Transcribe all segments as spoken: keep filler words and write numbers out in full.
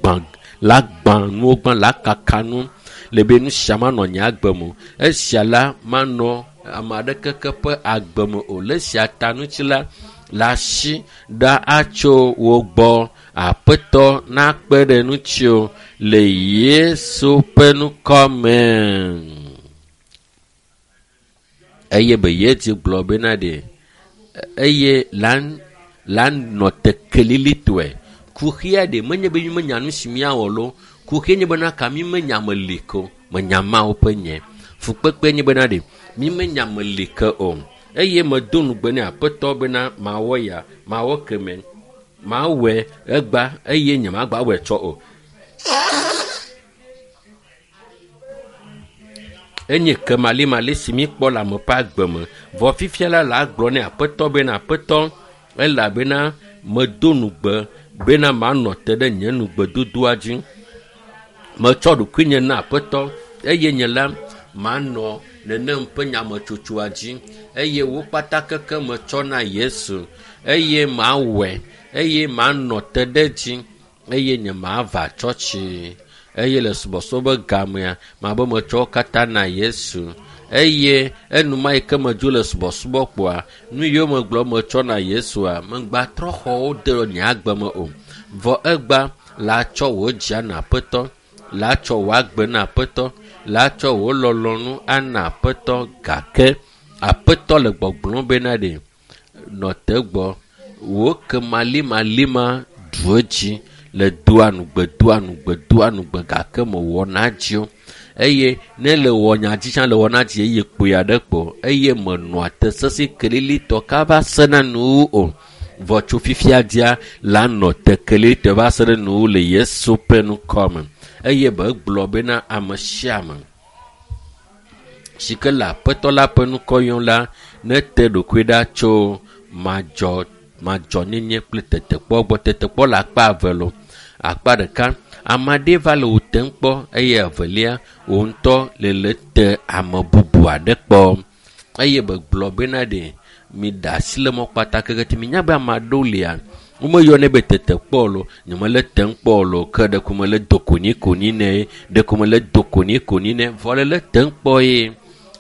gbã la gbã nuwo gbã la kaka nu le be nu sia manɔ nye agbe me o. Esia la manɔ ame aɖeke ke ƒe agbe me o. Le esia ta ŋuti la, le asi ɖa atso wo gbɔ. Aƒetɔ nakpe ɖe ŋutiwò le Yesu ƒe ŋkɔ me. Eye be Yesu gblɔ bena ɖe eye la la nɔ te kelilitɔe. Kuxia ɖe menye be mi menya nu si míawɔ loo. Kuxia nye bena ka mi menya me li ke o. Menya Mawu ƒe nye. Fukpekpe nye bena ɖe mi menya me li ke o. Eye medo nugbe ne Aƒetɔ bena mawɔ ya, mawɔ keme, mawɔe egba eye nye magba wɔe tsɔ o. Enye kemalimali si mi kpɔ le ame ƒe agbe me. Vɔ fifia la la gblɔ ne Aƒetɔ bena Aƒetɔ elabena medo nugbe bena manɔ te ɖe nye nugbedodoa dzi. Metsɔ ɖokuinye na Aƒetɔ eye nye la manɔ nenem ƒe nyametsotsoa dzi eye wo kpata keke metsɔ na Yesu eye mawɔe eye manɔ te ɖe dzi eye nye mava tsɔtsi eye le subɔsubɔ be gamea mabe metsɔ wo katã na Yesu eye enuma yi ke medzo le subɔsubɔ kpoa nu yiwo megblɔ metsɔ na Yesua megba trɔ xɔ wo de nye agbe me o. Vɔ egba la tsɔ wò dzia na Aƒetɔ, la tsɔ wò agbe na Aƒetɔ, la tsɔ wò lɔlɔ̃nu ana Aƒetɔ gake Aƒetɔ le gbɔgblɔm bena ɖe nɔ te gbɔ wò kemalimalima ɖu edzi le doa nugbe, doa nugbe, doa nugbe gake mewɔ na dzi o. Eye ne le wɔ nya dzi tsã le wɔ na dzi eye kpoe aɖe kpo eye menɔa te sesẽ kelilitɔ kava sena nuwu o. Vɔ tso fifia dzia la nɔ te kelilitɔ va se ɖe nuwu le Yesu ƒe ŋkɔ me. Eye be gblɔ bena ame sia ame si ke le Aƒetɔ la ƒe ŋkɔ yɔm la nete ɖokui ɖa tso madzɔ madzɔnyenye kple tetekpɔ gbɔ. Tetekpɔ le akpa eve loo. Akpa ɖeka, ame aɖe va le wò tem kpɔ eye evelia wò ŋutɔ le le te ame bubu aɖe kpɔ. Eye be gblɔ bena ɖe mi ɖe asi le mɔ kpata keke ti minya be ame aɖewo lia womeyɔnɛ be tetekpɔ loo, nyemele tem kpɔ loo ke ɖeko mele do konyikonyi nɛ, ɖeko mele do konyikonyi nɛ vɔ le le tem kpɔ ye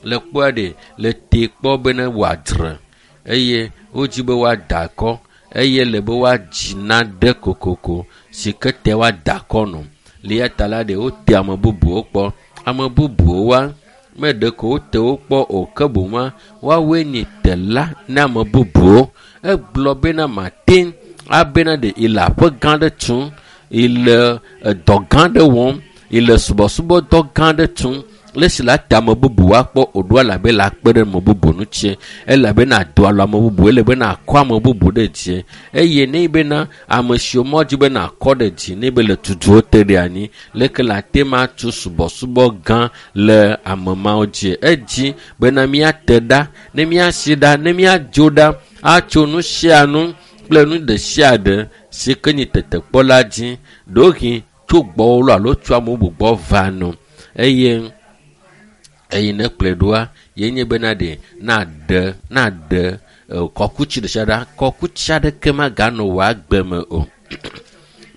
le kpɔa ɖe le te kpɔ bena wòadzre eye wodzi be woada akɔ eye le be woadzi nane kokoko si ke te woada akɔ nɔ. Le ya ta la ɖe wote ame bubuwo kpɔ. Ame bubuwo wa me ɖeko wote wo kpɔ o ke boŋ woawoe nye tela na ame bubuwo. Egblɔ bena mate abena ɖe ele aƒe gã ɖe tum, ele edɔ gã ɖe wɔm, ele subɔsubɔdɔ gã ɖe tum. Le si la te ame bubu akpɔ o ɖo elabe le akpe ɖe ame bubu ŋuti elabena do alɔ ame bubu elabena akɔ ame bubu ɖe dzi eye ne bena ame siwo mɔdzi bena akɔ ɖe dzi ne be le tutu wo te ɖe anyi leke la te ma tu subɔsubɔ gã le ame mawo dzi. Edzi bena míate ɖa ne míasi ɖa ne míadzo ɖa atso nu sia nu kple nu ɖe sia ɖe si ke nye tetekpɔ la dzi ɖewohĩ tso gbɔwò loo alo tso ame bubu gbɔ va no eye eye ne kplɔe ɖoa ye nye bena ɖe naɖe naɖe kɔkutsi ɖe sia ɖa kɔkutsi aɖeke maganɔ wò agbe me o.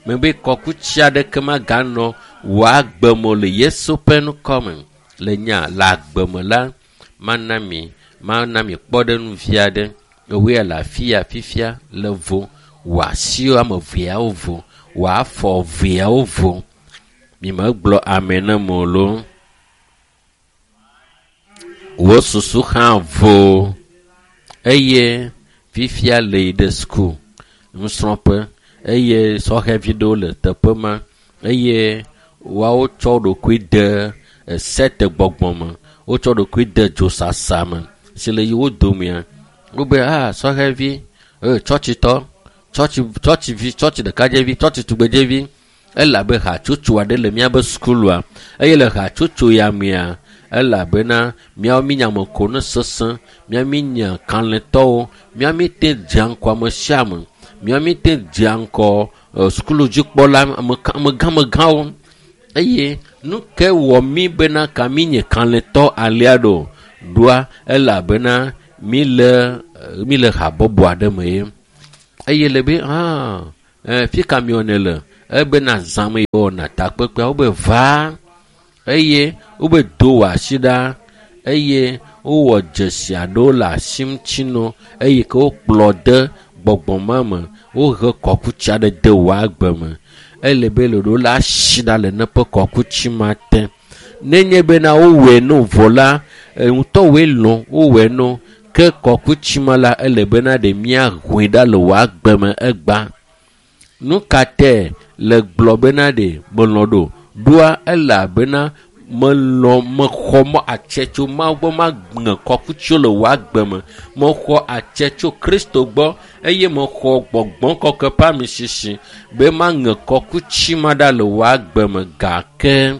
Mebe kɔkutsi aɖeke maganɔ wò agbe me o le Yesu ƒe ŋkɔ me. Le nya le agbe me la mana mi mana mi kpɔɖeŋu vi aɖe. Ewoe le afi ya fifia le vo wò asiwo ame eveawo vo wò afɔ eveawo vo. Mi megblɔ ame ne me o loo. Wò susu hã vo eye fifia le yi ɖe suku nusrɔ̃ƒe eye sɔhɛvi ɖewo le teƒe ma eye woawo tsɔ ɖokui de sete gbɔgbɔ me, wotsɔ ɖokui de dzosasa me si le yi wo domea. Wobe ah sɔhɛvi, e tsɔtsitɔ, tsɔtsi tsɔtsivi, tsɔtsi ɖekadzevi, tsɔtsi tugbedzevi elabe hatsotso aɖe le míabe sukulua eye le hatsotso ya mea elabena míawo míenya ame ko ne sesẽ, míawo míenya kalẽtɔwo, míawo míete dzea ŋgɔ ame sia ame, míawo míete dzea ŋgɔ sukuludzikpɔla amegãmegãwo eye nu ke wɔ mí bena ka míenye kalẽtɔ alea ɖo ɖoa elabena míle míle habɔbɔ aɖe me ye eye le be ah fi ka miwɔnɛ le Ebena zãme wɔna takpekpea wobe va eye wobe do wɔ asi ɖa eye wowɔ dzesi aɖewo le asi ŋuti nɔ eye ke wokplɔ de gbɔgbɔ ma me wohe kɔkutsi aɖe de wò agbe me. Ele be le ɖo la asi ɖa le neƒe kɔkutsi ma te. Nenye bena wowɔe no vɔ la, ŋutɔwoe lɔ̃ wowɔe no ke kɔkutsi ma la ele bena ɖe míahoe ɖa le wò agbe me egba. Nu ka te le gblɔ bena ɖe melɔ̃ ɖo? Ɖoa elabena melɔ̃ mexɔ mɔ atse tso Mawu gbɔ maŋe kɔkutsiwo le wò agbe me. Mexɔ atse tso Kristo gbɔ eye mexɔ gbɔgbɔ kɔkɔe ƒe amisisi be maŋe kɔkutsi ma ɖa le wò agbe me gake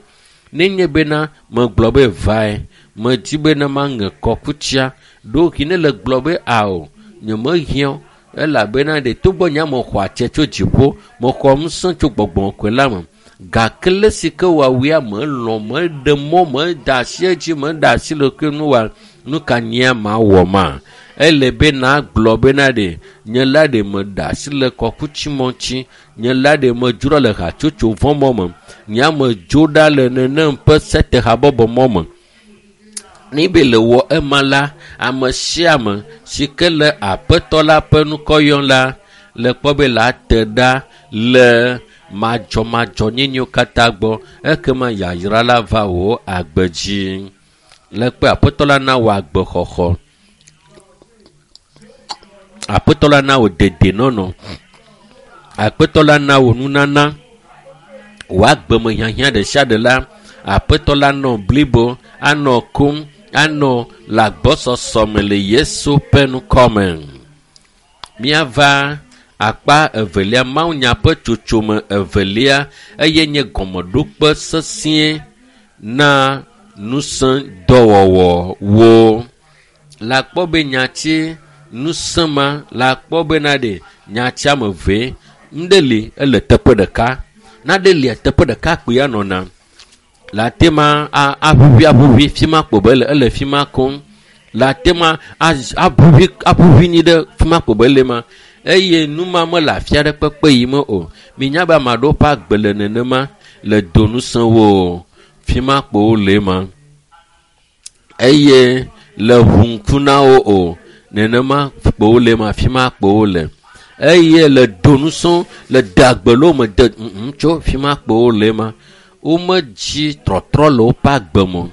nenye bena megblɔ be vae medi bena maŋe kɔkutsia ɖohi ne le gblɔ be ao nyemehiã o elabena ɖe togbɔ nye mexɔ atse tso dziƒo mexɔ ŋusẽ tso gbɔgbɔ kɔkɔe la me gake le si ke woawua melɔ̃ meɖe mɔ meda asi edzi meda asi le ke nu wa nu ka nyea mawɔ ma ele be nagblɔ bena ɖe nye la ɖe meda asi le kɔkutsi mɔ ŋuti nye la ɖe medzro le hatsotso vɔ̃ mɔ me nye amedzo ɖa le nenem ƒe setehabɔbɔ mɔ me. Ne be le wɔ ema la ame sia ame si ke le aƒetɔ la ƒe ŋkɔ yɔm la le kpɔ be la te ɖa le madzɔmadzɔnyenyewo katã gbɔ ekema yayra la va wò agbe dzi. Le kpe aƒetɔ la na wò agbexɔxɔ. Aƒetɔ la na wò dedenɔnɔ. Aƒetɔ la na wò nunana. Wò agbeme hiahiã ɖe sia ɖe la aƒetɔ la nɔ blibo anɔ kum anɔ le agbɔsɔsɔ me le Yesu ƒe ŋkɔ me. Míava akpa evelia mawunya ƒe tsotsome evelia eye nye gɔmeɖokpe sesĩe na ŋusẽ dɔwɔwɔwo. Le akpɔ be nyati ŋusẽ ma le akpɔ bena ɖe nyati ame eve ŋɖe li ele teƒe ɖeka naɖe lia teƒe ɖeka kpoe anɔna. Le ate ma aʋuʋui aʋuʋui fi ma kpo be ele ele fi ma koŋ. Le ate ma aʋuʋui aʋuʋui nyi ɖe fi ma kpo be ele ma eye nu ma mele afi aɖe kpekpe yi me o. Minya be ame aɖewo ƒe agbe le nenema le do ŋusẽwo fi ma kpo wole ma eye le ʋu ŋku na wo o nenema kpo wole ma fi ma kpo wole eye le do ŋusẽ le de agbe le wo me de ŋutsu fi ma kpo wole ma. Womedzi trɔtrɔ le woƒe agbe me o.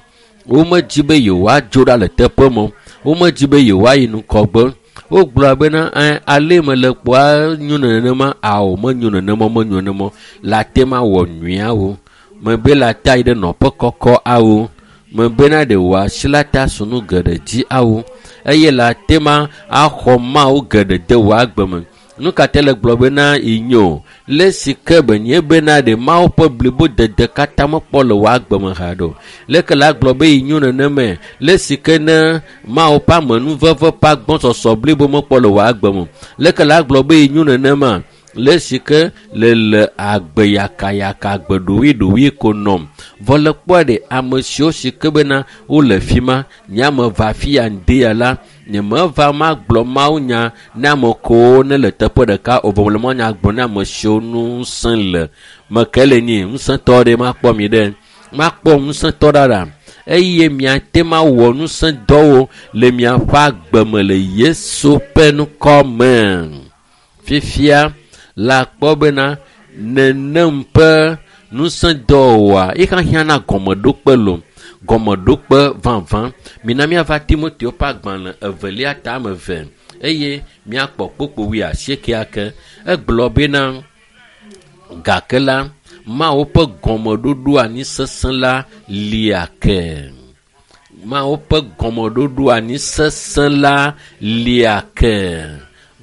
Womedzi be yewoadzo ɖa le teƒe me o. Womedzi be yewoayi ŋgɔgbe. Wogblɔ bena ɛ ale me le kpoa nyo nenema ao menyo nenema menyo nenema le ate ma wɔ nyuiawo. Mebe le ate ayi ɖe nɔƒe kɔkɔ awo. Mebena ɖe wò asi la ta su nu geɖe dzi awo eye le ate ma axɔ Mawu geɖe de wò agbe me. Nu ka te le gblɔ bena inyo le si ke be nye bena ɖe Mawu ƒe blibodede katã mekpɔ le wò agbe me haɖe o. Leke la gblɔ be inyo nenemae le si ke ne Mawu ƒe amenuveve ƒe agbɔsɔsɔ blibo mekpɔ le wò agbe me. Leke la gblɔ be inyo nenema le si ke le le agbe yakayaka agbe ɖoɖoe ko nɔm. Vɔ le kpɔa ɖe ame siwo si ke bena wole fi ma nye ame va fi ya ŋdi ya la nyemeva magblɔ mawunya na ame kewo ne le teƒe ɖeka o vɔ mele mawunya gblɔm na ame siwo ŋusẽ le. Meke le nyi ŋusẽtɔ ɖe makpɔ mi ɖe makpɔ ŋusẽtɔ ɖaɖa eye miate mawɔ ŋusẽdɔwo le miaƒe agbe me le Yesu ƒe ŋkɔ me. Fifia le akpɔ bena nenem ƒe ŋusẽdɔwɔwɔa yi hiã na gɔmeɖokpe lo gɔmeɖokpe vavã. Mina míava Timoteo ƒe agbalẽ evelia ta ame eve eye míakpɔ kpokpo wuiasiekɛa ke. Egblɔ bena gake la Mawu ƒe gɔmeɖoɖo anyi sesẽ la lia ke. Mawu ƒe gɔmeɖoɖo anyi sesẽ la lia ke.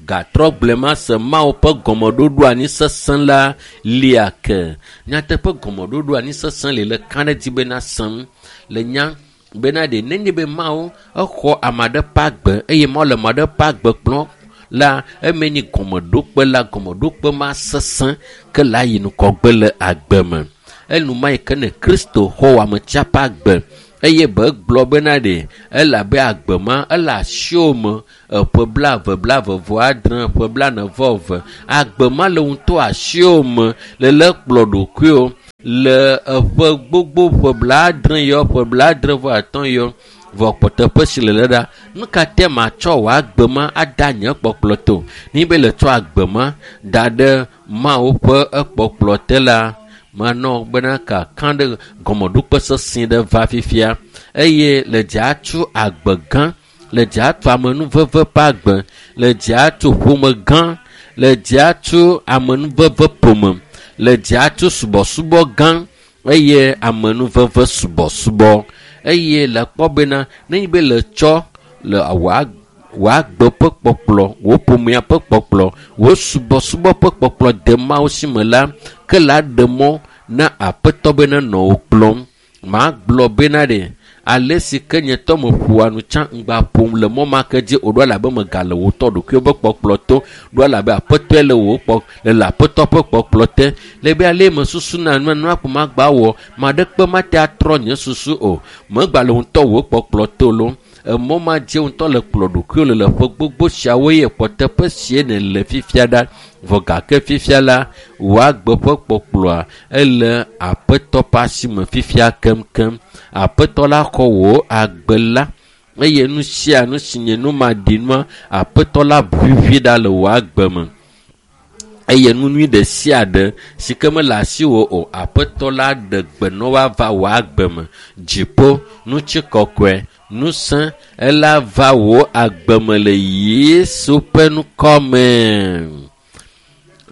Gatrɔ gblɔe ma se Mawu ƒe gɔmeɖoɖo anyi sesẽ la lia ke. Nyateƒe gɔmeɖoɖo anyi sesẽ li le ka ɖe dzi bena sẽm le nya bena ɖe nenye be Mawu exɔ ame aɖe ƒe agbe eye Mawu le ame aɖe ƒe agbe kplɔm la eme nyi gɔmeɖokpe la gɔmeɖokpe ma sesẽ ke la yi ŋgɔgbe le agbe me. Enuma yi ke ne Kristo xɔ wò ametsia ƒe agbe Eye be gblɔ bena ɖe elabe agbe ma ele asiwò me eƒe blaeve blaeve vɔ adre ƒe blane vɔ eve. Agbe ma le ŋutɔ asiwò me le le kplɔ ɖokuiwò le eƒe gbogbo ƒe blaadre yɔ ƒe blaadre vɔ atɔ̃ yɔ vɔ kpɔteƒe si le le ɖa. Nu ka te matsɔ wò agbe ma ada nye kpɔkplɔ to? Ni be le tsɔ agbe ma da ɖe Mawu ƒe ekpɔkplɔ te la, manɔ bena kaka ɖe gɔmeɖokpe sesẽ ɖe va fifia eye le dza tso agbe gã, le dza tso amenuveve ƒe agbe, le dza tso ƒome gã, le dza tso amenuveve ƒome, le dza tso subɔsubɔ gã eye amenuveve subɔsubɔ. Eye le kpɔ bena nenye be le tsɔ le wò wò agbe ƒe kpɔkplɔ, wò ƒomea ƒe kpɔkplɔ, wò subɔsubɔ ƒe kpɔkplɔ de Mawu si me la, ke la ɖe mɔ na Aƒetɔ be nenɔ wò kplɔm. Magblɔ bena ɖe ale si ke nye tɔ meƒoa nu tsã ŋgba ƒom le mɔ ma ke dzi o ɖo elabe megale wò tɔ ɖokuiwò ƒe kpɔkplɔ to ɖo elabe Aƒetɔe le wò kpɔ le le Aƒetɔ ƒe kpɔkplɔ te. Le be ale mesusuna nua nua ko magba wɔ ma ɖekpe mate atrɔ nye susu o. Megba le ŋutɔ wò kpɔkplɔ to lo. Emɔ ma dzi ŋutɔ le kplɔ ɖokuiwò le le ƒe gbogbo siawo ye kpɔteƒe sie nèle fifia ɖa. Vɔ gake fifia la, wò agbe ƒe kpɔkplɔa ele Aƒetɔ ƒe asi me fifia keŋkeŋ. Aƒetɔ la xɔ wò agbe la eye nu sia nu si nye numaɖinua, Aƒetɔ la ʋuʋui ɖa le wò agbe me. Eye nu nyui ɖe sia ɖe si ke mele asiwò o, Aƒetɔ la ɖe gbe na woava wò agbe me. Dziƒo, ŋutikɔkɔe, ŋusẽ ela va wò agbe me le Yesu ƒe ŋkɔ me.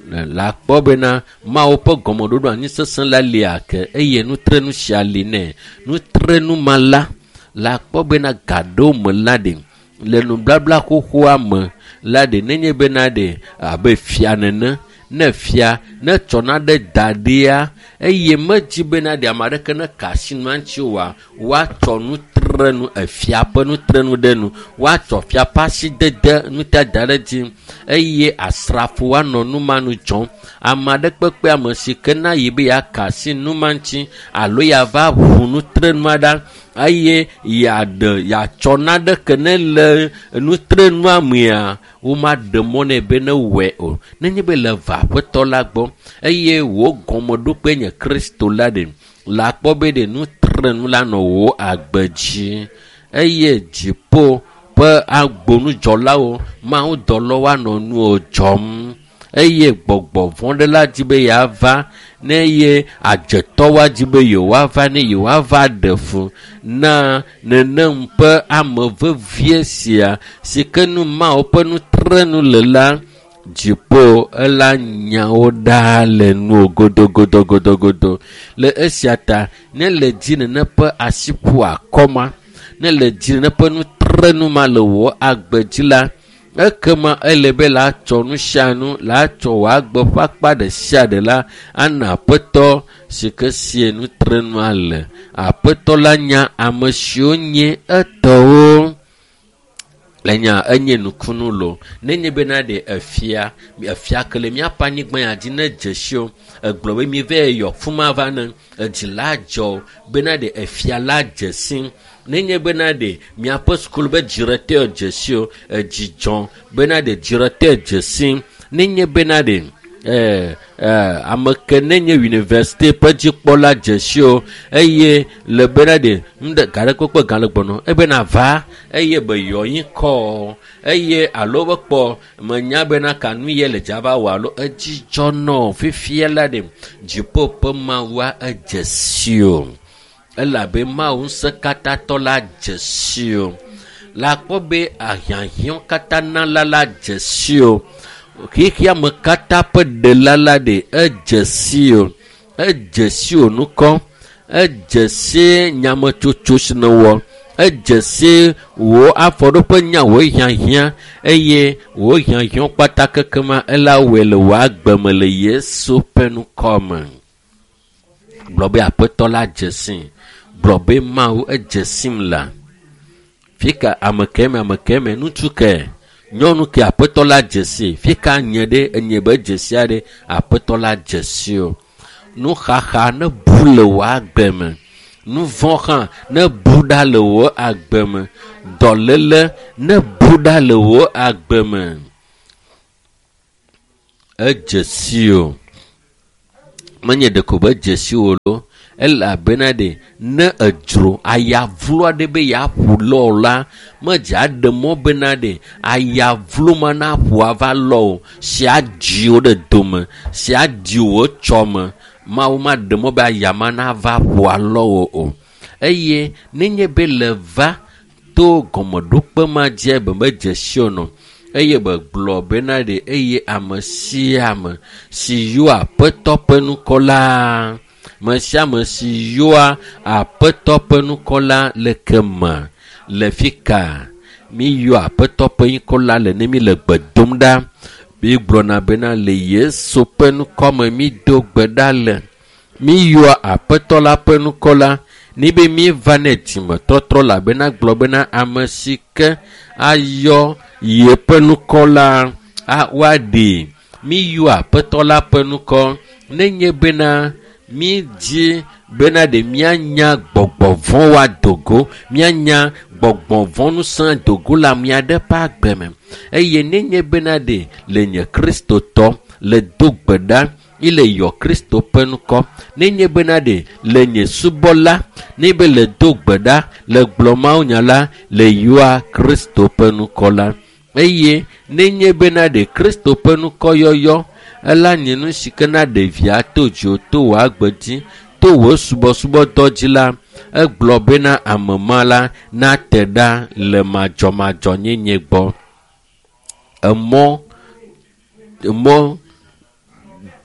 La kpɔ bena Mawu ƒe gɔmeɖoɖo anyi sesẽ la li ake eye nutrenu sia li nɛ. Nutrenu ma la, la kpɔ bena ga ɖewo me la ɖe le nublabla xoxoa me la ɖe nenye bena ɖe abe fia nene ne fia ne tsɔna ɖe da ɖia eye medzi bena ɖe ame aɖeke ne ka asi nua ŋuti oa, woatsɔ nutrenu efia ƒe nutrenu ɖe nu, woatsɔ fia ƒe asidede nutata ɖe dzi eye asrafo woanɔ nu ma nu dzɔm. Ame aɖe kpekpe ame si ke na yi be yeaka asi nu ma ŋuti alo yeava ʋu nutrenua ɖa eye yeaɖe yeatsɔ naɖeke ne le nutrenua mea, womaɖe mɔ nɛ be ne wɔe o. Nenye be le va Aƒetɔ la gbɔ eye wò gɔmeɖokpe nye Kristo la ɖe, la kpɔ be ɖe nutrenu la nɔ wò agbe dzi eye dziƒo ƒe agbonudzɔlawo, mawudɔlawo anɔ nuwò dzɔm eye gbɔgbɔ vɔ̃ ɖe la dzi be yeava ne ye adzetɔwoa dzi be yewoava ne yewoava ɖe fu na nenem ƒe ame vevie sia si ke nu Mawu ƒe nutrenu le la, dziƒo ela nyawo ɖa le nuwò godogodogodogodo. Le esia ta ne le dzi nene ƒe asi ƒo akɔma, ne le dzi nene ƒe nutrenu ma le wò agbe dzi la, ekema ele be la tsɔ nu sia nu, la tsɔ wò agbe ƒe akpa ɖe sia ɖe la ana Aƒetɔ si ke sie nutrenua le. Aƒetɔ la nya ame siwo nye etɔwo. Le nya enye nukunu lo. Nenye bena ɖe efia, efia ke le míaƒe anyigba ya dzi ne dze si o, egblɔ be mi va yɔ fuma va ne edzi la dzɔ bena ɖe efia la dze si. Nenye bena ɖe miaƒe sukulu be directeur dze si o, edzi dzɔ bena ɖe directeur dze si. Nenye bena ɖe eh, eh, ame ke nenye université ƒe dzikpɔla dze si o eye le bena ɖe nu ɖe ga ɖe kpekpe ga le gbɔnɔ ebena va eye be yɔ yi kɔ eye alo be kpɔ menya bena ka nu ye le dzava wɔ alo edzi dzɔ nɔ fifia la ɖe dziƒo ƒe Mawua edze si o elabe Mawu ŋusẽkatãtɔ la dze si o. La kpɔ be ahiãhiã katã nala la dze si o. Xexea me katã ƒe ɖela la ɖe edze si o. Edze si o nukɔ. Edze si nyametsotso si nèwɔ. Edze si wò afɔɖoƒe nya wò hiahiã eye wò hiahiã kpata kekema ela wɔe le wò agbe me le Yesu ƒe ŋkɔ me. Gblɔ be Aƒetɔ la dze si. Gblɔ be Mawu edze sim la. Fika ame ke me, ame ke me, ŋutsu ke, nyɔnu ke Aƒetɔ la dze si. Fika nye ɖe, enye be dze sia ɖe, Aƒetɔ la dze si o. Nuxaxa ne bu le wò agbe me. Nu vɔ̃ hã ne bu ɖa le wò agbe me. Dɔléle ne bu ɖa le wò agbe me. Edze si o. Menye ɖeko be edze si o lo. Elabena ɖe ne edzro ayavlo aɖe be yeaƒu lɔ la, medze aɖe mɔ bena ɖe ayavlo ma naƒu ava lɔ o. Si adzi wo ɖe dome, si adi wò tsɔme. Mawu maɖe mɔ be ayama nava ƒo alɔ wo o. Eye nenye be le va to gɔmeɖokpe ma dzi be medze si o nɔ. Eye be gblɔ bena ɖe eye ame sia ame si yɔa Aƒetɔ ƒe ŋkɔ la, me sia ame si yɔa Aƒetɔ ƒe ŋkɔ la le keme le fi ka mi yɔ Aƒetɔ ƒe ŋkɔ la le ne mi le gbe dom ɖa. Mi gblɔna bena le Yesu ƒe ŋkɔ me mi do gbe ɖa le. Mi yɔa Aƒetɔ la ƒe ŋkɔ la ni be mi va ne dzimetɔtrɔ la bena gblɔ bena ame si ke ayɔ yeƒe ŋkɔ la a woaɖee. Mi yɔ Aƒetɔ la ƒe ŋkɔ nenye bena mi dzi bena ɖe mianya gbɔgbɔ vɔ̃ woado go, mianya gbɔgbɔ vɔ̃ ŋusẽ do go le ame aɖe ƒe agbe me. Eye nenye bena ɖe le nye Kristotɔ le do gbe ɖa ile yɔ Kristo ƒe ŋkɔ, nenye bena ɖe le nye subɔla ne be le do gbe ɖa le gblɔ mawunya la le yɔa Kristo ƒe ŋkɔ la. Eye nenye bena ɖe Kristo ƒe ŋkɔ yɔyɔ ela nye nu si ke na ɖevia to dziwò to wò agbe dzi to wò subɔsubɔdɔ dzi la, egblɔ bena ame ma la nate ɖa le madzɔmadzɔnyenye gbɔ. Emɔ, emɔ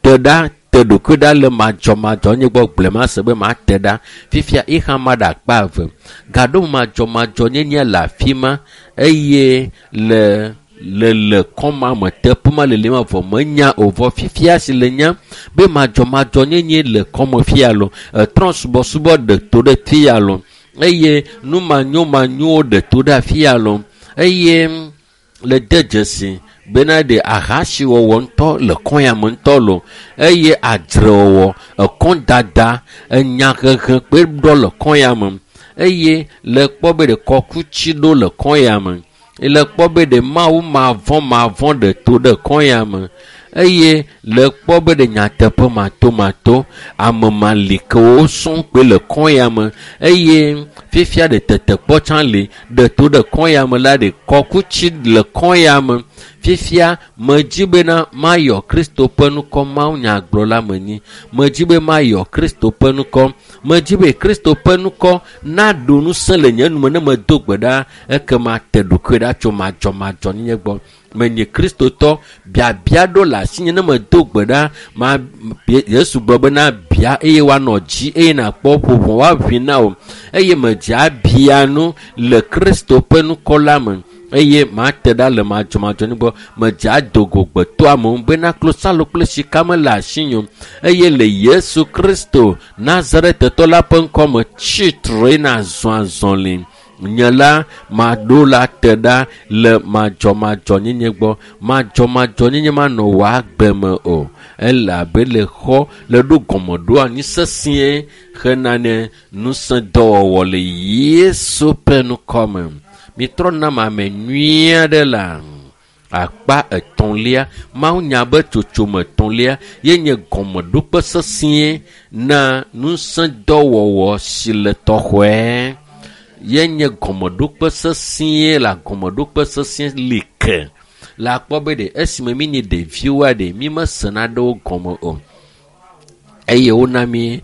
te ɖa, te ɖokui ɖa le madzɔmadzɔnyenye gbɔ. Gblɔe ma se be mate ɖa. Fifia ixa ma ɖe akpa eve. Gaɖo madzɔmadzɔnyenye le afi ma eye le le le kɔma me teƒe ma le li ma vɔ menya o vɔ fifia si le nya be madzɔmadzɔnyenye le kɔme fia lo. Etrɔ subɔsubɔ ɖe to ɖe fia lo eye numanyomanyowo ɖe to ɖe afia lo eye le de dzesi bena ɖe ahasiwɔwɔ ŋutɔ le kɔnya me ŋutɔ lo eye adzrewɔwɔ, ekɔdada, enyahehe kpe ɖɔ le kɔnya me eye le kpɔ be ɖe kɔkutsi ɖo le kɔnya me. Le kpɔ be ɖe Mawu mavɔ̃ mavɔ̃ ɖe to ɖe kɔnya me eye le kpɔ be ɖe nyateƒe matomato ame malikewo sɔŋ kpe le kɔnya me eye fifia ɖe tetekpɔ tsã li ɖe to ɖe kɔnya me la ɖe kɔkutsi le kɔnya me. Fifia medzi bena mayɔ Kristo ƒe ŋkɔ mawunyagblɔla menyi. Medzi be mayɔ Kristo ƒe ŋkɔ. Medzi be Kristo ƒe ŋkɔ naɖo ŋusẽ le nye nume ne medo gbe ɖa ekema te ɖokui ɖa tso madzɔmadzɔnyenye gbɔ. Menye Kristotɔ biabia ɖo le asinye ne medo gbe ɖa ma Yesu gblɔ bena bia eye woanɔ dzi eye nakpɔ ƒoʋɔ woaʋui na wò eye medze abia nu le Kristo ƒe ŋkɔ la me eye mate ɖa le madzɔmadzɔnyenye gbɔ. Medze ado go gbetɔamewo bena klosalo kple sika mele asinye o eye le Yesu Kristo Nazaretetɔ la ƒe ŋkɔ me tsi tre nazɔ azɔli. Nye la maɖo la te ɖa le madzɔmadzɔnyenye gbɔ. Madzɔmadzɔnyenye manɔ wò agbe me o. Elabe le xɔ le ɖo gɔmeɖo anyi sesĩe hena ne ŋusẽdɔwɔwɔ le Yesu ƒe ŋkɔ me. Mitrɔ nam ame nyui aɖe la akpa etɔ̃lia mawunya be tsotsome etɔ̃lia ye nye gɔmeɖokpe sesĩe na ŋusẽdɔwɔwɔ si le tɔxɔe. Ye nye gɔmeɖokpe sesĩe la gɔmeɖokpe sesĩe li ke. Le akpɔ be ɖe esime mi nye ɖeviwoa ɖe mi mesena ɖe wo gɔme o. Eye wona mi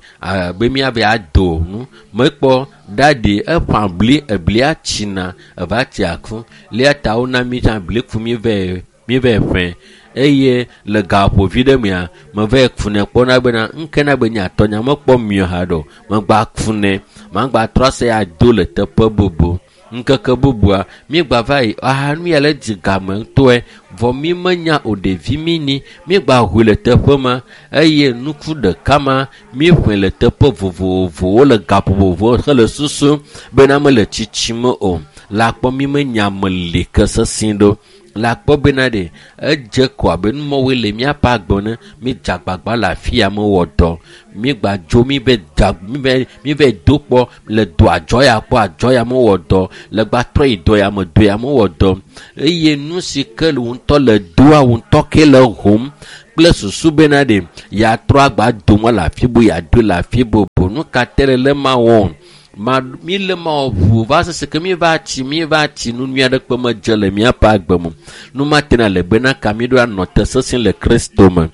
be miave ado nu. Mekpɔ ɖaɖi eƒã bli eblia tsina eva tsi aku. Lia ta wona mi tsã bli ku mi vɛ mi vɛ ƒẽ eye le gaƒovi ɖe mea meva kunɛ kpɔna bena ŋke na be nye atɔnya mekpɔ miɔ haɖe o. Megba kunɛ magba trɔ ase ado le teƒe bubu. Ŋkeke bubua míegba va yi aha nu ya le dzi game ŋutɔe vɔ mi menya o ɖevi mi ni míegba ʋui le teƒe ma eye nuku ɖeka ma míeƒoe le teƒe vovovowo le gaƒoƒovowo hele susu bena mele tsitsime o. Le akpɔ mi menya me li ke sesĩ ɖo Le akpɔ bena ɖe edze ko abe numɔwoe le míaƒe agbe ne mi dze agbagba le afi ya mewɔ dɔ. Mi gba dzo mi be dza mi be mi be do kpɔ le do adzɔ ya kpɔ adzɔ ya mewɔ dɔ le gba trɔ yi dɔ ya me do ya mewɔ dɔ eye nu si ke le ŋutɔ le doa ŋutɔ ke le hom kple susu bena ɖe yatrɔ agba dome le afi bu yeado le afi bubu. Nu ka te le le ma wɔm? Ma mi le ma wɔ ʋu va sese ke mi va tsi mi va tsi nu nyui aɖe kpe medze le míaƒe agbe me. Nu ma tena le bena ka mi ɖo anɔ te sesẽ le Kristo me.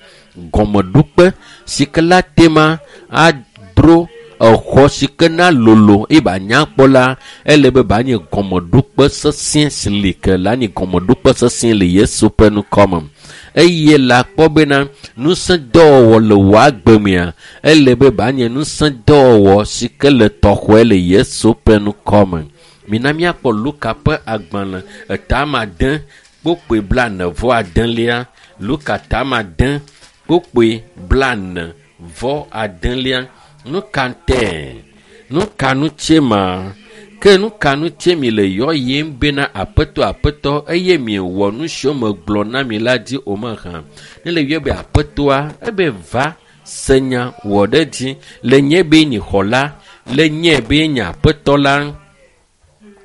Gɔmeɖokpe si ke la tema adro exɔ si ke na lolo eye ba nya kpɔ la ele be ba nye gɔmeɖokpe sesẽ si li ke la nye gɔmeɖokpe sesẽ le Yesu ƒe ŋkɔ me. Eye le akpɔ bena ŋusẽ dɔwɔwɔ le wò agbe mea ele be ba nye ŋusẽ dɔwɔwɔ si ke le tɔxɔe le Yesu ƒe ŋkɔ me. Mina míakpɔ Luka ƒe agbalẽ etama ade kpokpoe blaene vɔ adelia. Luka tama ade kpokpoe blaene vɔ adelia. Nu ka ŋutɛ? Nu ka ŋutie ma? Ke nu ka ŋutie mi le yɔyem bena aƒetɔ aƒetɔ eye miewɔ nu siwo megblɔ na mi la dzi o mahã? Ne le yɔe be aƒetɔa ebe va se nya wɔ ɖe dzi le nye be nyi xɔla le nye be nye aƒetɔ la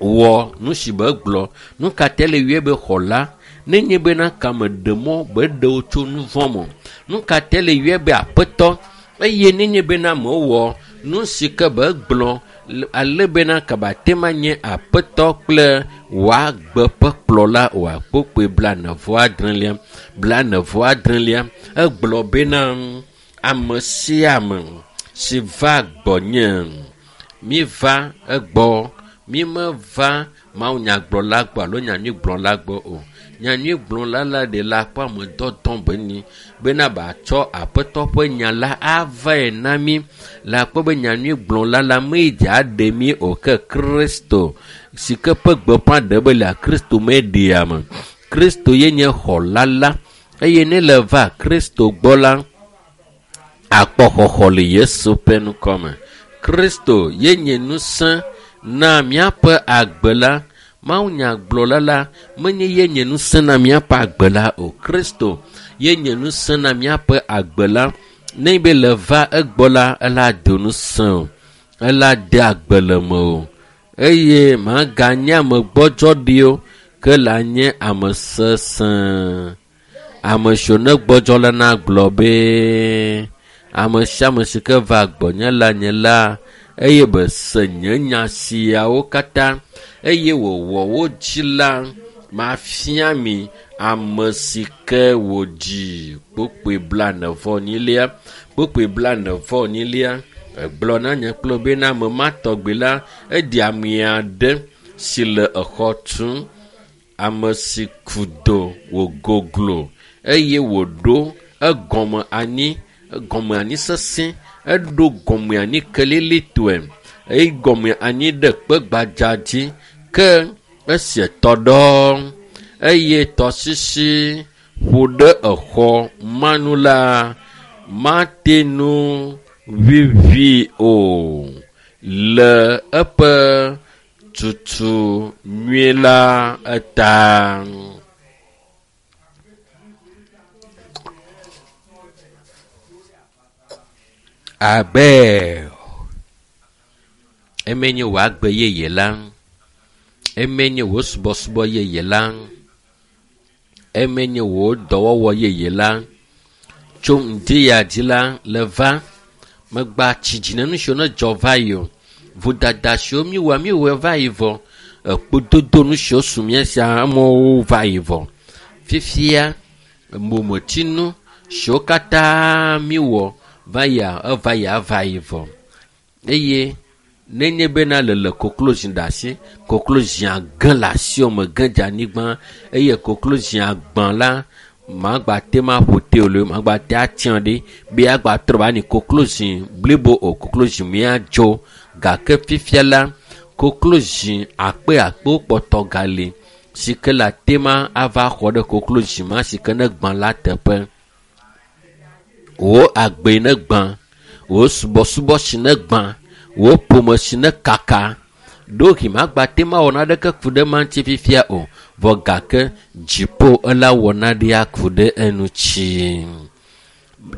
wɔ nu si be gblɔ. Nu ka te le yɔe be xɔla? Ne nye bena kame ɖe mɔ be ɖewo tso nu vɔ̃ me. Nu ka te le yɔe be aƒetɔ eye ne nye bena mewɔ nu si ke be gblɔ ale bena kaba te ma nye aƒetɔ kple wòagbe ƒe kplɔla oa. Kpokpoe blaene vɔ adrelia blaene vɔ adrelia egblɔ bena ame sia ame si va gbɔnye mi va egbɔ mi meva mawunyagblɔla gbɔ alo nyanyuigblɔla gbɔ o. Nyanyuigblɔla la ɖe la kpɔ ame dɔdɔ be nyi bena batsɔ aƒetɔ ƒe nya la avae na mi. Le akpɔ be nyanyuigblɔla la medze aɖe mi o ke Kristo si ke ƒe gbeƒã ɖe be le Kristo meɖea me. Kristo ye nye xɔla la eye ne le va Kristo gbɔ la akpɔ xɔxɔ le Yesu ƒe ŋkɔ me. Kristo ye nye ŋusẽ na míaƒe agbe la. Mawunyagblɔla la menye ye nye ŋusẽ na míaƒe agbe la o. Kristo ye nye ŋusẽ na míaƒe agbe la. Ne be le va egbɔ la ela do ŋusẽ o, ela de agbe le me o eye maganye ame gbɔdzɔ ɖi o ke la nye ame sesẽ. Ame siwo ne gbɔdzɔ la na gblɔ be ame sia ame si ke va gbɔnye la nye la eye be se nye nya siawo katã eye wòwɔ wo dzi la mafia mi ame si ke wòdzi. Kpokpoe blaene vɔ enyilia kpokpoe blaene vɔ enyilia egblɔ na nye kple bena ame ma tɔgbi la eɖi ame aɖe si le exɔ tum. Ame si ku do wògoglo eye wòɖo egɔme anyi egɔme anyi sesẽ eɖo gɔme anyi kelilitɔe eye gɔme anyi ɖe kpe gbadza dzi ke esi tɔ ɖɔ eye tɔsisi ƒo ɖe exɔ manu la mate nu vivi o le eƒe tutu nyuie la eta. Abe eme nye wò agbe yeye la, eme nye wò subɔsubɔ yeye la, eme nye wò dɔwɔwɔ yeye la. Tso ŋdi ya dzi la le va megba tsi dzi ne nu siwo ne dzɔ va yi o. Vodada siwo miwɔ miwɔe va yi vɔ. Ekpododo nu siwo su mía sia amewo va yi vɔ. Fifia mometsinu siwo katã miwɔ va yia eva yia va yi vɔ. Eye nenye bena le le koklozi ɖe asi, koklozia ge le asiwò me ge dze anyigba eye koklozia gbã la magba te ma ƒo te o lo magba te atsiã ɖi be agba trɔ va nyi koklozi blibo o koklozi miadzo gake fifia la koklozi akpe akpewo kpɔtɔ gali si ke le ate ma ava xɔ ɖe koklozi ma si ke ne gbã la teƒe. Wò agbe ne gbã, wò subɔsubɔ si ne gbã, wò ƒome si ne kaka, Ɖewohĩ magbate ma wɔ naɖeke ku ɖe ma ŋuti fifia o. Vɔ gake dziƒo ela wɔ naɖea ku ɖe eŋuti.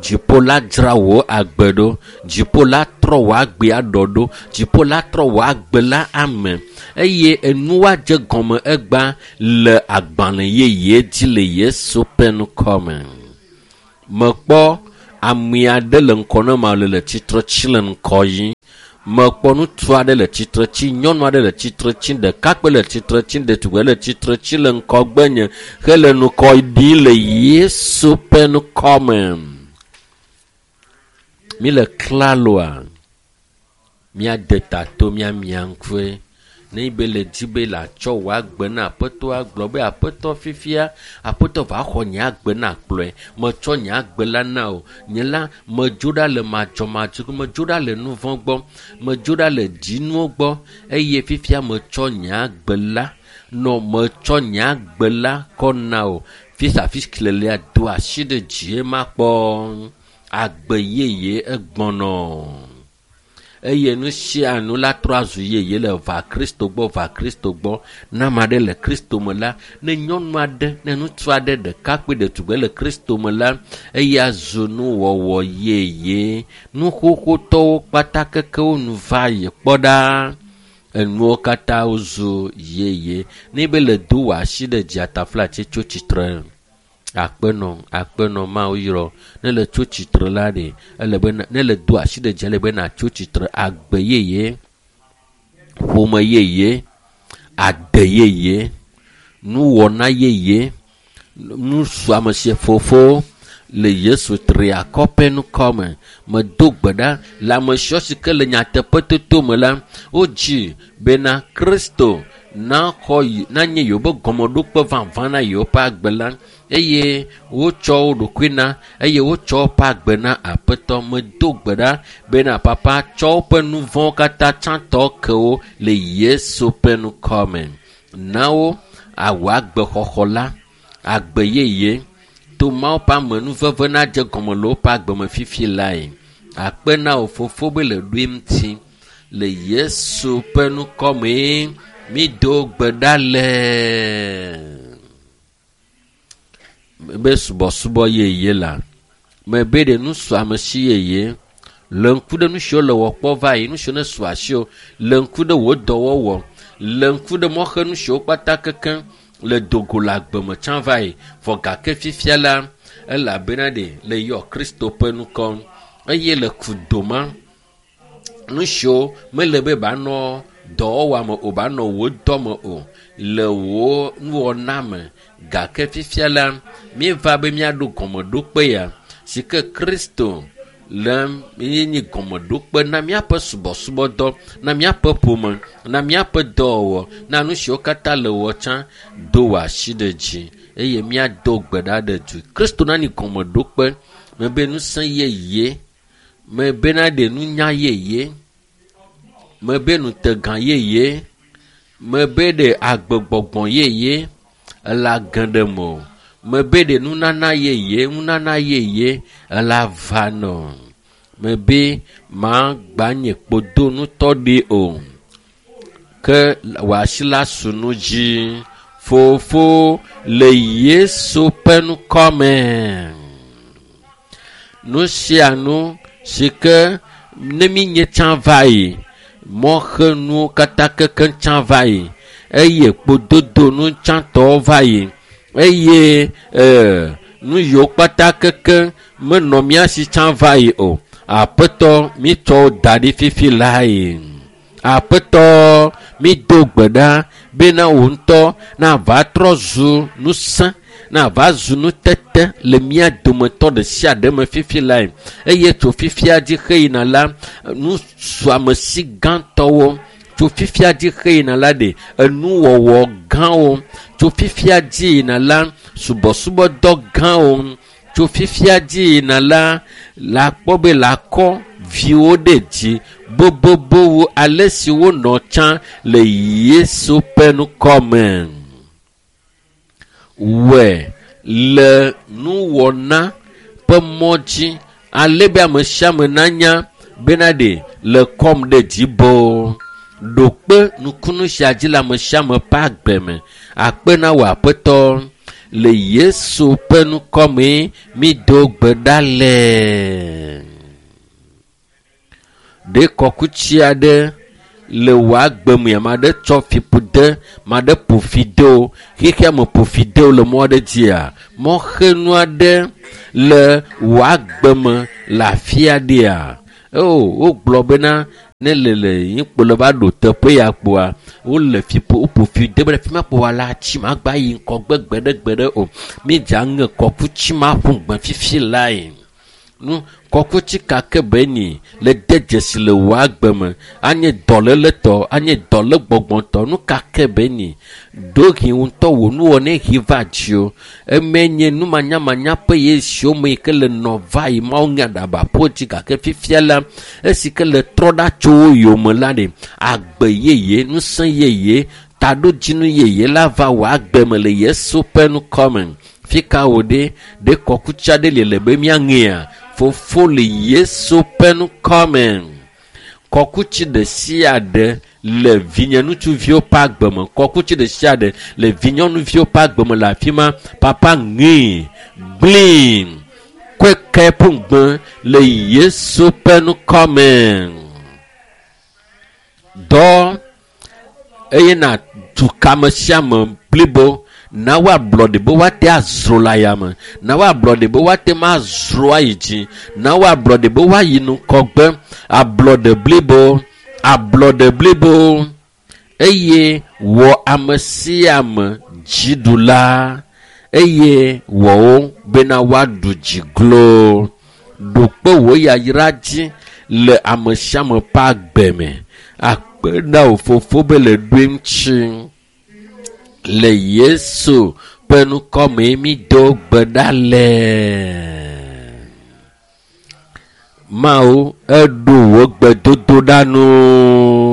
Dziƒo la dzra wò agbe ɖo. Dziƒo la trɔ wò agbea ɖɔ ɖo. Dziƒo la trɔ wò agbe la ame. Eye enua dze gɔme egba le agbalẽ yeye dzi le Yesu ƒe ŋkɔme. Mekpɔ ame aɖe le ŋkɔ na ma le le tsitre tsi le ŋkɔ yi. Mekpɔ ŋutsu aɖe le tsitre tsi, nyɔnu aɖe le tsitre tsi, ɖekakpui le tsitre tsi, ɖetugbi le tsitre tsi le ŋgɔgbenye hele ŋkɔ ɖim le Yesu ƒe ŋkɔme. Mi le klaloa, míade ta to míamia ŋkue. Ne be le dzi be le atsɔ wò agbe na Aƒetɔ agblɔ be Aƒetɔ fifia, Aƒetɔ va xɔ nye agbe na kplɔe. Metsɔ nye agbe la na wò. Nye la medzo ɖa le madzɔmadzɔ, medzo ɖa le nu vɔ̃ gbɔ, medzo ɖa le dzinuwo gbɔ eye fifia metsɔ nye agbe la nɔ metsɔ nye agbe la kɔ na wò. Fisia fi lelia do asi ɖe dzie makpɔ. Agbe yeye egbɔnɔ. Eye nu sia nu la trɔ azu yeye le va Kristo gbɔ, va Kristo gbɔ. Ne ame aɖe le Kristo me la, ne nyɔnu aɖe, ne ŋutsu aɖe, ɖekakpui, ɖetugbi le Kristo me la, eya zu nuwɔwɔ yeye. Nu xoxotɔwo kpata kekewo nu va yi kpɔ ɖa. Enuwo katã wozu yeye. Ne be le do wò asi ɖe dzi ataflatse tso tsitre. Akpenɔ, akpenɔ Mawu yrɔ. Ne le tso tsitre la ɖe, ele be ne le do asi ɖe dzi ele be natso tsitre agbe yeye, ƒome yeye, ade yeye, nuwɔna yeye, nusuame si fofo le Yesu triakɔ ƒe ŋkɔme. Medo gbe ɖa le ame siwo si ke le nyateƒetoto me la, wodzi bena Kristo naxɔ yi, nanye yewoƒe gɔmeɖokpe vavã na yewoƒe agbe la eye wotsɔ wo ɖokui na eye wotsɔ woƒe agbe na Aƒetɔ. Medo gbe ɖa bena Papa tsɔ woƒe nu vɔ̃wo katã tsãtɔ ke wo le Yesu ƒe ŋkɔme. Na wo awɔ agbexɔxɔ la, agbe yeye to Mawu ƒe amenuveve nadze gɔme le woƒe agbe me fifi lae. Akpe na wò fofo be le ɖoe ŋuti le Yesu ƒe ŋkɔme. Mi do gbe ɖa le be subɔsubɔ yeye la mebe ɖe nusuamesi yeye le ŋku ɖe nu siwo le wɔ kpɔ va yi, nu siwo ne su asiwò, le ŋku ɖe wò dɔwɔwɔ, le ŋku ɖe mɔxenu siwo kpata kekeŋ le dogo le agbe me tsã va yi. Vɔ gake fifia la, elabena ɖe le yɔ Kristo ƒe ŋkɔ eye le kudoma nu siwo mele be banɔ dɔwɔwɔ me o, banɔ wò dɔ me o, le wò nuwɔna me. Gake fifia la, míeva be míaɖo gɔmeɖokpe ya si ke Kristo le míenye gɔmeɖokpe na míaƒe subɔsubɔdɔ, na míaƒe ƒome, na míaƒe dɔwɔwɔ, na nu siwo katã le wɔ tsã. Do wò asi ɖe dzi eye míado gbe ɖa ɖe du. Kristo nanye gɔmeɖokpe mebe ŋusẽ yeye, mebe naɖe nunya yeye, mebe ŋutegã yeye, mebe ɖe agbegbɔgbɔ yeye ela ge ɖe me o. Mebe ɖe nunana yeye, nunana yeye ela va nɔ. Mebe magba nye kpodonutɔ ɖi o. Ke wò asi la su nu dzi. Fofo le Yesu ƒe ŋkɔme. Nu sia nu si ke ne míenye tsã va yi, mɔxenuwo katã kekeŋ tsã va yi eye kpododonu tsãtɔwo va yi eye ee nu yiwo kpata kekeŋ menɔ mía si tsã va yi o. Aƒetɔ mítsɔ wo da ɖi fifi lae. Aƒetɔ mído gbe ɖa bena wò ŋutɔ nava trɔ zu ŋusẽ, nava zu nutete le mía dometɔ ɖe sia ɖe me fifi lae. Eye tso fifia dzi xeyina la, nusuamesi gãtɔwo tso fifia dzi xeyina la ɖe enuwɔwɔ gãwo tso fifia dzi yina la subɔsubɔdɔ gãwo tso fifia dzi yina la la kpɔ be la kɔ viwo ɖe dzi bobobo wu ale si wonɔ tsã le Yesu ƒe ŋkɔme. Wɔe le nuwɔna ƒe mɔ dzi ale be ame sia ame nanya bena ɖe le kɔm ɖe dzi boo. Ɖo kpe nukunu sia dzi le ame sia ame ƒe agbe me. Akpe na wò Aƒetɔ. Le Yesu ƒe ŋkɔme mído gbe ɖa le. Ɖe kɔkutsi aɖe le wò agbe me, ame aɖe tsɔ fiƒode, ame aɖe ƒo fi de wo, xexea me ƒo fi de wo le mɔ aɖe dzia, mɔxenu aɖe le wò agbe me le afi aɖea. O, wogblɔ bena ne le le yikpo le va ɖo teƒe ya kpoa, wole fiƒo, woƒo fi de be fi ma kpoa la tsi magba yi ŋgɔgbe gbeɖegbeɖe o. Mídze aŋe kɔkutsi ma ƒu gbe fifi lae. Nu kɔkutsi ka ke be ni le de dzesi le wò agbe me, anye dɔléletɔ, anye dɔlégbɔgbɔtɔ, nu ka ke be ni ɖohi ŋutɔ wò nuwɔnae hi va dziwò. Eme nye numanyamanya ƒe ye siwo me yi ke le nɔ va yi Mawu ŋe aɖaba ƒo dzi gake fifia la, esi ke le trɔ ɖa tso wo yome la ɖe, agbe yeye, ŋusẽ yeye, taɖodzinu yeye la va wò agbe me le Yesu ƒe ŋkɔme. Fi ka wò ɖe, ɖe kɔkutsi aɖe li le be míaŋea? Fofo le Yesu ƒe ŋkɔme. Kɔkutsi ɖe sia ɖe le vinye ŋutsuviwo ƒe agbe me. Kɔkutsi ɖe sia ɖe le vinyɔnuviwo ƒe agbe me le afi ma. Papa ŋee, gblẽe, kɔe ƒu gbe le Yesu ƒe ŋkɔme. Dɔ eye na du kame sia ame blibo. Na woablɔɖe be woate azro le ayame. Na woablɔɖe be woate ma azro ayi dzi. Na woablɔɖe be woayi ŋgɔgbe. Ablɔɖe blibo, ablɔɖe blibo. Eye wɔ ame sia ame dziɖula. Eye wɔ wo bena woaɖu dzi glo. Ɖo kpe wò yayra dzi le ame sia ame ƒe agbe me. Akpe na wò fofo be le ɖoe ŋuti. Le Yesu ƒe ŋkɔme mído gbe ɖa le. Mawu eɖo wò gbedodoɖa nu.